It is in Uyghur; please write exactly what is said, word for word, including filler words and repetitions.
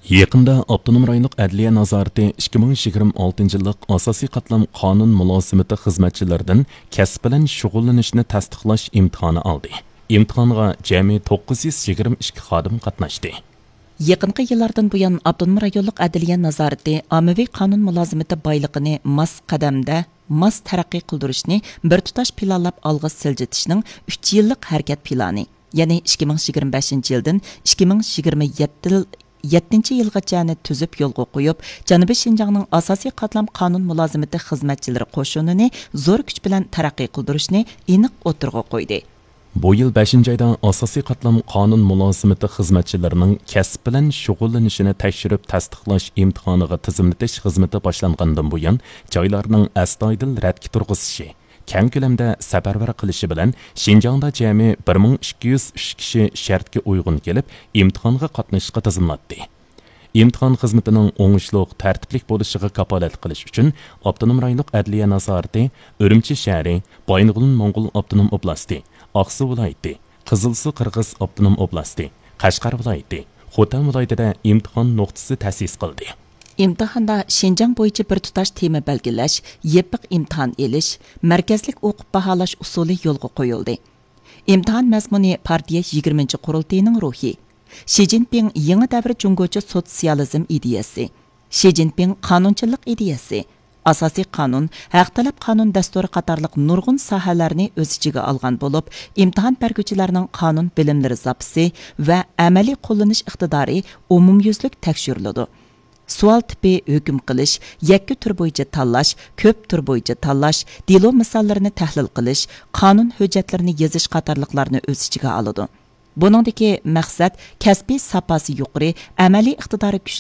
يېقىندا ئاپتونوم رايونلۇق ئەدلىيە نازارىتى ئىككى مىڭ يىگىرمە ئالتىنچى يىللىق ئاساسىي قاتلام قانۇن مۇلازىمىتى خىزمەتچىلىرىدىن كەسىپ بىلەن شۇغۇللىنىشنى تەستىقلاش ئىمتىھانى ئالدى. ئىمتىھانغا جەمئىي توققۇز يۈز يىگىرمە ئىككى خادىم قاتناشتى. يېقىنقى يىللاردىن بۇيان، ئاپتونوم رايونلۇق ئەدلىيە نازارىتى ئاممىۋى قانۇن مۇلازىمىتى بايلىقىنى ماس قەدەمدە، ماس تەرەققىي قىلدۇرۇشنى بىر تۇتاش پىلانلاپ ئالغا سىلجىتىشنىڭ ئۈچ يىللىق ھەرىكەت پىلانى، يەنى ئىككى مىڭ يىگىرمە بەشىنچى يىلدىن ئىككى مىڭ يىگىرمە يەتتە يىل، يەتتىنچى يىلغىچەنى تۈزۈپ يولغا قويۇپ، جەنۇبىي شىنجاڭنىڭ ئاساسىي قاتلام قانۇن مۇلازىمىتى خىزمەتچىلىرى قوشۇنىنى زور كۈچ بىلەن تەرەققىي قىلدۇرۇشنى ئېنىق ئوتتۇرىغا قويدى. بۇ يىل بەشىنچى ئايدا ئاساسىي قاتلام قانۇن مۇلازىمىتى خىزمەتچىلىرىنىڭ كەسىپ بىلەن شۇغۇللىنىشىنى تەكشۈرۈپ تەستىقلاش ئىمتىھانىغا تىزىملىتىش خىزمىتى باشلانغاندىن بۇيان، جايلارنىڭ ئەستايىدىل رەتكە تۇرغۇزۇشى، كەڭ كۆلەمدە سەپەرۋەر قىلىشى بىلەن شىنجاڭدا جەمئىي بىر مىڭ ئىككى يۈز ئۈچ كىشى شەرتكە ئۇيغۇن كېلىپ، ئىمتىھانغا قاتنىشىشقا تىزىملاتتى. ئىمتىھان خىزمىتىنىڭ ئوڭۇشلۇق، تەرتىپلىك بولۇشىغا كاپالەتلىك قىلىش ئۈچۈن، ئاپتونوم رايونلۇق ئەدلىيە نازارىتى ئۈرۈمچى شەھىرى، بايىنغولىن موڭغۇل ئاپتونوم ئوبلاستى، ئاقسۇ ۋىلايىتى، قىزىلسۇ قىرغىز ئاپتونوم ئوبلاستى، قەشقەر ۋىلايىتى، خوتەن ۋىلايىتىدە ئىمتىھان نۇقتىسى تەسىس قىلدى. ئىمتىھاندا شىنجاڭ بويىچە بىر تۇتاش تېما بەلگىلەش، يېپىق ئىمتىھان ئېلىش، مەركەزلىك ئوقۇپ باھالاش ئۇسۇلى يولغا قويۇلدى. ئىمتىھان مەزمۇنى پارتىيە يىگىرمىنچى قۇرۇلتىيىنىڭ روھى، شى جىنپىڭ يېڭى دەۋر جۇڭگوچە سوتسىيالىزم ئىدىيەسى، شى جىنپىڭ قانۇنچىللىق ئىدىيەسى، ئاساسىي قانۇن، ھەق تەلەپ قانۇن دەستۇرى قاتارلىق نۇرغۇن ساھەلەرنى ئۆز ئىچىگە ئالغان بولۇپ، ئىمتىھان بەرگۈچىلەرنىڭ قانۇن بىلىملىرى زاپىسى ۋە ئەمەلىي قوللىنىش ئىقتىدارى ئومۇميۈزلۈك تەكشۈرۈلىدۇ. سوئال تىپى ھۆكۈم قىلىش، يەككە تۈر بويىچە تاللاش، كۆپ تۈر بويىچە تاللاش، دېلو مىساللىرىنى تەھلىل قىلىش، قانۇن ھۆججەتلىرىنى يېزىش قاتارلىقلارنى ئۆز ئىچىگە ئالىدۇ. بۇنىڭدىكى مەقسەت كەسپىي ساپاسى يۇقىرى، ئەمەلىي ئىقتىدارى كۈچلۈك